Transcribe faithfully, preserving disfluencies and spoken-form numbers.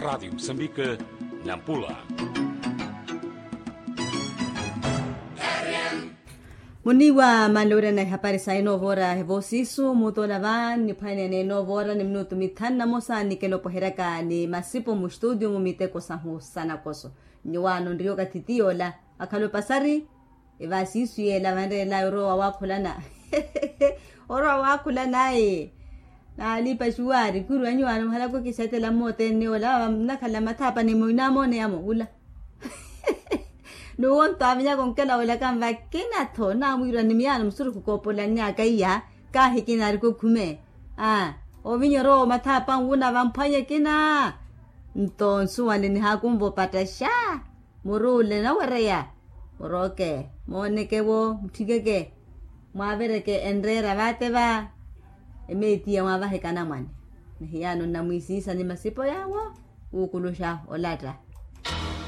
Radiyo musambike, nampula. Muniiwa manlowirana ihapari sa inoovora evoosiisu mutola va niphwanene inoovora ni minutu mithanu na mosa nikenopoheryaka ni masipo mustutiyo mu miteko sahu sanakoso. Nyuwaano nriyo kathi tiyola akhala opasari. Evaasiisu yeela vanreelaya orowa waakhulana. Orowa waakhulana ayi. Naalipa xuwaari khuri wanyu waano muhalaku kisetela mmootene ola vava nnakhala mathaapani muinamooneya-mo wula. N'uwo nto avinyaka onkela wela kanvakina-tho namwiirwa ni miyaano musurukhu koopolanyaka iya. Kaahi kinaarika okhume. Aa ovinya orowa omathaapanwu na vamphwanye kina. Nto nsuwanle nihaakunva opatta xa. Muru ole nawereya murooke mooneke-wo mutthikeke. Mwaavereke enreera vaate va emeetiya mwaavaheke anamwane. Ni hiyaano nnamwiisiisa ni masipo yaawo wuukuluxa olatta.